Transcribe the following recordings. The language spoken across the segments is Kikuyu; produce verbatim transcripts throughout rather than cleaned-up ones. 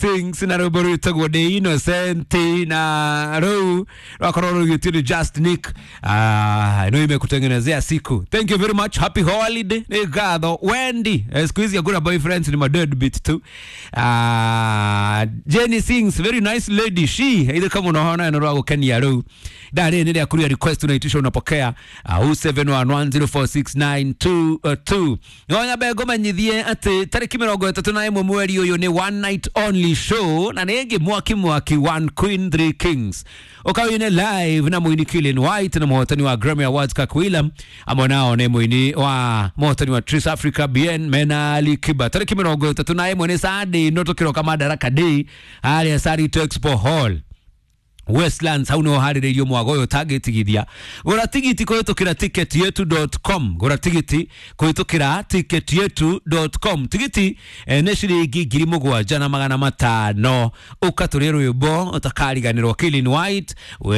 Things na rwĩmbo rwĩtagwo The Innocent na rũu rwakorwo rũgĩtio nĩ Just Nick. Ah, no imekutengenezea siku. Thank you very much. Happy holiday. Nĩ ngatho Wendy. Eh, siku hizi hakuna boyfriends, ni madeadbeat tu. Ah, Jenny sings very nice lady she ile kama unaona ino rwa gukenia rũu ndarĩ nĩ rĩa kuria request unaitisha unapokea uh, zero seven one one zero four six nine two two. Ngonya be ngũmenyithie atĩ tarĩki mĩrongo ĩtatũ na ĩmwe mweri ũyũ nĩ one night only show na nĩ ĩngĩ mwaki mwaki, one queen three kings, ũkawine live na mũini Killian White na mũhotani wa Grammy Awards Kirk Wheelam, amwe nao nĩ mũini wa mũhotani wa Trace Africa Bien mena Ali Kiba. Tarĩki mĩrongo ĩtatũ na ĩmwe nĩ Sunday no tũkĩroka Madaraka Day harĩa Sarit Expo Hall, Westlands, hau niho harĩrĩirio mwago ũyũ ũtangĩtigithia. Gũra tigiti kũhĩtũkĩra ticket yetu dot com, gũra tigiti kũhĩtũkĩra ticket yetu dot com. Tigiti eh, nĩ ciringi ngiri mũgwanja na magana matano. Ũka tũrĩe rwĩmbo ũtakariganĩrwo, Kilin White we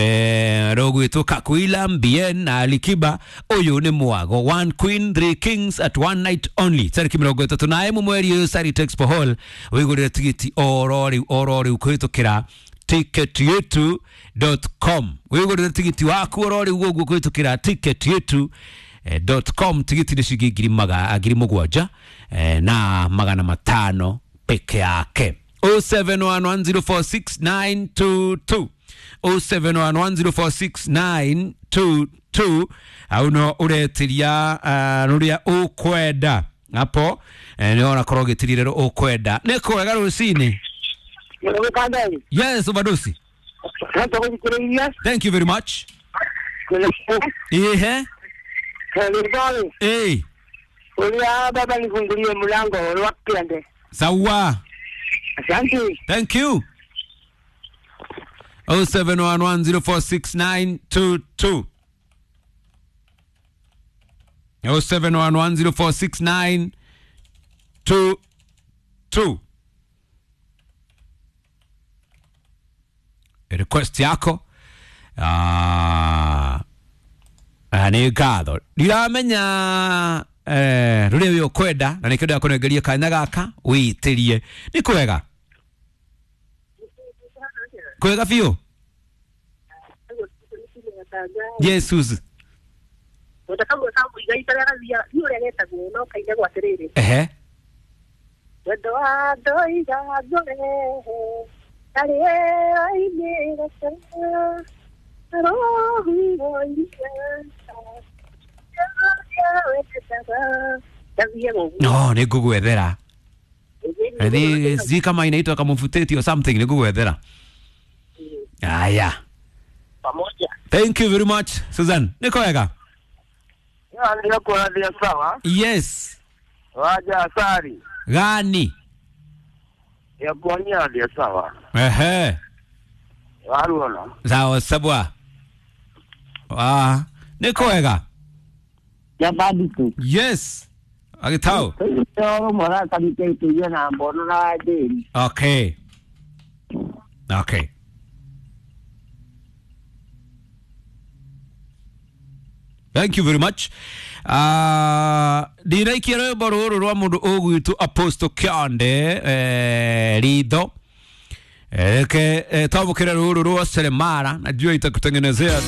rũgwĩtwo Kakwila Bien na Alikiba. Ũyũ nĩ mwago one queen three kings at one night only, tarĩki mĩrongo ĩtatũ na ĩmwe mweri ũyũ, Sarit Expo Hall. Wĩgũrĩre tigiti oro rĩu oro rĩu kũhĩtũkĩra ticket yetu dot com. Wigũrĩre tigiti waku oro rĩu ũguo kũhĩtũkĩra ticket yetu dot com. Tigiti nĩ ciringi ngiri maga ngiri mũgwanja eh, na magana matano peke yake. zero seven one one zero four six nine two two, zero seven one one zero four six nine two two, au no ũretiria uh, rũrĩa ũkwenda hapo eh, nĩ ũrakorwo ũgĩtiria rĩrĩa ũkwenda. Nĩ kwega rũcinĩ. Mũrũkandai. Yes, Obadosi. Hata gũthikĩrĩria. Thank you very much. Ihe. Serikali. Eh. Ulia baba nifungulie mlango wa kiande. Sawa. Asante. Thank you. zero seven one one zero four six nine two two. zero seven one one zero four six nine two two. Request yako. Ah, ah, nĩ ngatho ndiramenya eh, rũrĩa wĩ ũkwenda na nĩkĩo ndakũnengeria kanya gaka wĩitĩrie. Nĩ kwega kwega biũ. Jesus. Wendo kamũiga itarĩa ni ũrĩa getagwo no kainagwo atĩrĩrĩ. Ehe. Wendo wa ndoiga ngũrehe karĩera-inĩ gaka rũhuho-inĩ gathiaga ũguo. No nĩ ngũgwethera. Ĩthi sijui kama inaitwa kamufuteti or something, nĩ ngũgwethera. Aya. Pamoja. Thank you very much, Susan. Nĩ kwega. Ndio kwa ndio sawa. Yes. Waja asari. Gani? Ya kuonya ndio sawa. Ehe. Waruona. Sawa sabwa. Ah, nĩ kwega. Jamani tu. Yes, agĩtao. Ndio mwana kanite tuyo na mbono na wajeni. Okay. Okay. Thank you very much. Uh, ndinaikia rwĩmbo rũrũ rwa mũndũ ũgwĩtwo Apostle Kĩonde eh, ritho reke eh, twamũkĩre rũrũ rwa Seremara, najua itakutengenezea.